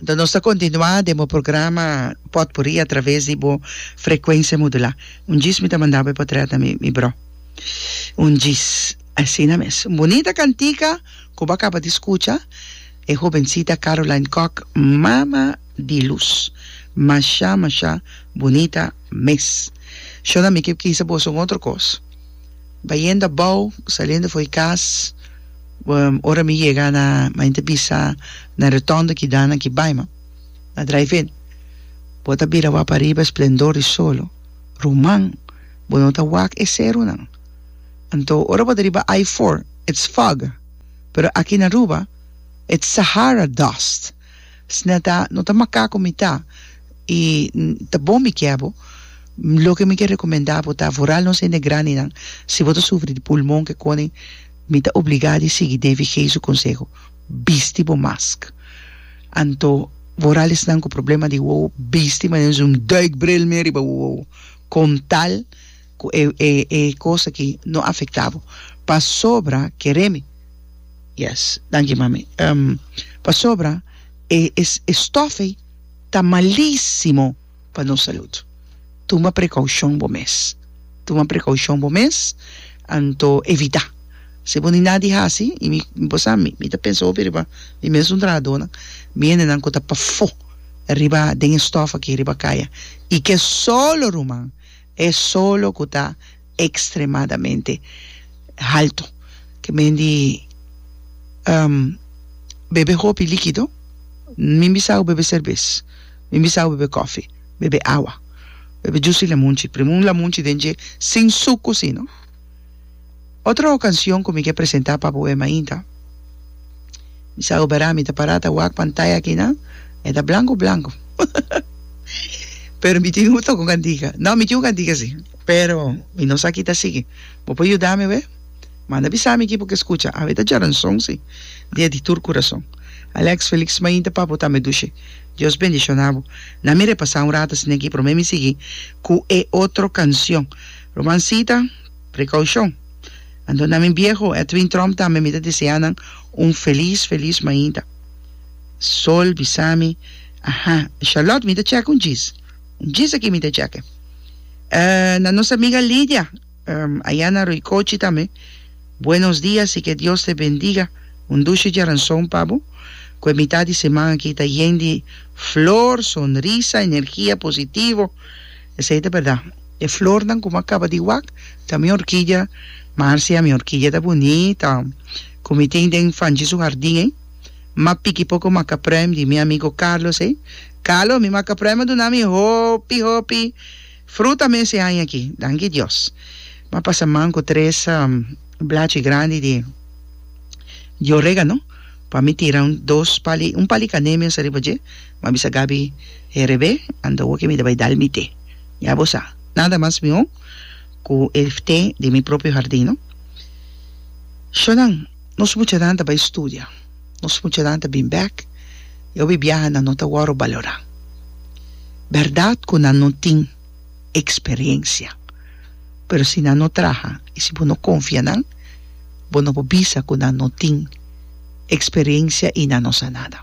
Anto nos ta kontinuá den bo programa Potpourri a traves di bo frekuensia modulá. Un djis mi ta manda bo e potrèt na mi bro. Un djis. Asina mes. Un bunita kantika ku bo a kaba di skucha, e hobensita Caroline Kock, Mama di Lus. Masha masha bunita mes. Shona mi ke kisa boso un otro kos. Bayendo abou, saliendo for e kas, ora mi yega na, mi ta bisa na rotonde ki dana ki bai ma, na drive in. Bo ta bira wak pariba esplendor di solo. Ruman, bo no ta wak e serunan. Anto ora bo ta riba I four, it's fog. Pero aki na Aruba, it's Sahara dust. Sna ta, no ta makaku mi ta, i ta bon mi kier bo. Loke mi ke rekomendá bo ta, vooral nos hende grandinan, si bo ta sufri di pulmon ke koning, mi ta obligá di sigui Davy G. su konseho, bisti bo mask. Anto, vooral esnan ku problema di wowo, bisti manera un duikbril mee riba bo wowo, kon tal ku e e e kos aki no afektá bo. Pasobra, kere mi, yes, danki mami, pasobra e e stòf ei ta malísimo pa nos salud. Tuma prekoushon bo mes. Tuma prekoushon bo mes, anto evitá. Si bo ni nada di hasi, i mi, bo sa, mi, mi ta pensa hopi riba mi mesun trahadónan, mi hendenan ku ta pafó riba den e stòf aki riba kaya, i ke solo ruman, e solo ku ta ekstremadamente haltu. Ke men di bebe hopi likido, mi bisa bo bebe serbes, mi bisa bo bebe kofi, bebe awa, bebe jus di lamunchi, primi un lamunchi den dje sin suku si no. Otro kansion ku mi ke presenta pa bo e mainta, mi sa bo bera mi ta para ta wak pantaya akinan, e ta blanku blanku. Pero mi tin un toka un kantika. No, mi tin un kantika si. Pero mi no sa ki ta sigui. Bo por yuda mi we? Manda bisa mi ki bo ke skucha. Awe ta djaranson si. Dia di tur kurason. Alex, Felix mainta pa bo tambe dushi. Dios bendishona bo. Na mi repasa un rato asina aki prome mi sigui ku e otro kansion. Rumansita, prekoushon. Anto na mi bieho Edwin Tromp tambe mi ta desea nan un felis felis mainta. Sol bisa mi, Aha, Charlotte mi ta chèk un djis. Un djis aki mi ta chèk. Na nos amiga Lidia, aya na Roycochi tambe, buenos dias y que Dios te bendiga. Un dushi djaranson pa bo, ku e mitad di siman aki ta yen di flor, sonrisa, energia positivo. Esei ta berdad. E flornan ku mi a kaba di wak ta mi orkidia, Marcia, mi orkidia ta bunita, ku mi tin den Fanchi su hardin ei. M'a piki poko makapruim di mi amigo Carlos ei. Carlos, mi makapruim a duna mi hopi, hopi fruta mes e aña aki. Danki Dios. M'a pasa man ku tres blachi grandi di di oregano pa mi tira un dos pali, un pali kané mes ariba dje. M'a bisa Gaby herebé, anto awor ke mi ta bai dal mi te. Ya bo sa, nada mas mihó ku e te di mi propio hardin, no? Shonnan. Nos muchanan ta bai studia, nos muchanan ta bin bek i hopi biaha nan no ta wòrdu balorá. Bèrdat ku nan no tin eksperensia, pero si nan no traha i si bo no konfia nan, bo no por bisa ku nan no tin eksperensia i nan no sa nada.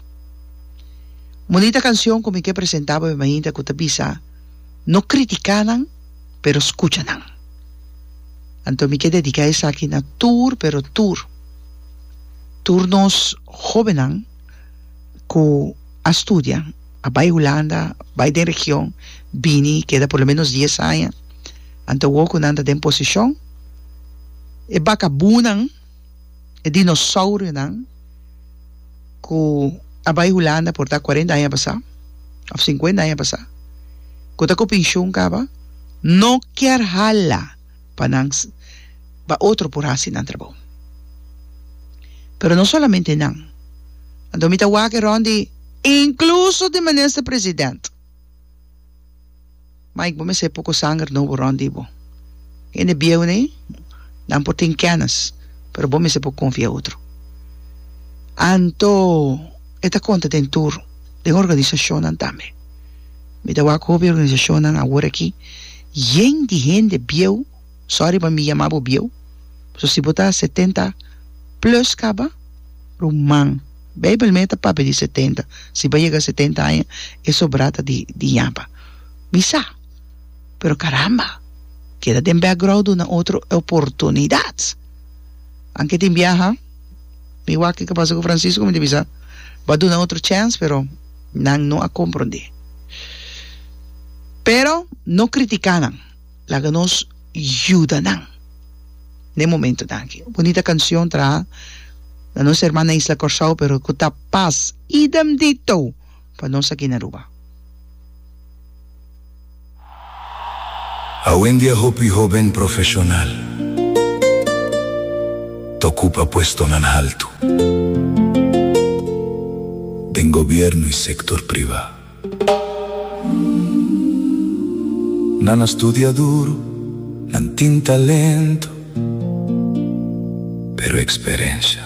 Un bunita kanshon ku mi ke presentá bo mainta ku ta bisa, No kritiká nan, pero skucha nan. Anto mi ke dediká esaki na tur, pero tur, tur nos hóbennan ku a studia, a bai Hulanda, bai den region, bini keda por lo menos dies aña, anto awor ku nan ta den posishon, e bakabunan, e dinosaurionan ku a bai Hulanda por ta kuarenta aña pasá òf sinkuenta aña pasá, ku ta ku penshun kaba, no kier hala pa nan pa otro por hasi nan trabou. Pero no solamente nan. Anto mi ta wak e rond di inkluso di minister president. Mike bo mester poko sanger nobo rond di bo. Hende bieu nei nan por tin kennis pero bo mester por konfia otro. Anto e ta konta den tur den organisashonnan tambe. Mi ta wak hopi organisashonnan awor aki yen di hende bieu, sorry pa mi yama bo bieu, pasobra si bo ta 70 plus kaba, ruman. Beibel mes ta papia di 70. Si bo a yega 70 aña, e sobrá ta di di ñapa. Mi sa. Pero caramba, keda den background duna otro e oportunidad. Anke tin biaha, mi wak kiko pasa ku Francisco, mi ta bisa, bo a duna otro chance, pero nan no a comprende. Pero no critica nan, laga nos yuda nan den momentonan aki. Bunita cancion traha na nos hermana isla Corsou, pero cu ta pas idem dito pa nos aki na Aruba. Awendia hopi hoben profeshonal ta ocupa puestonan haltu den gobierno y sector priva. Nan a studia duro, nan tin talento, pero experencia.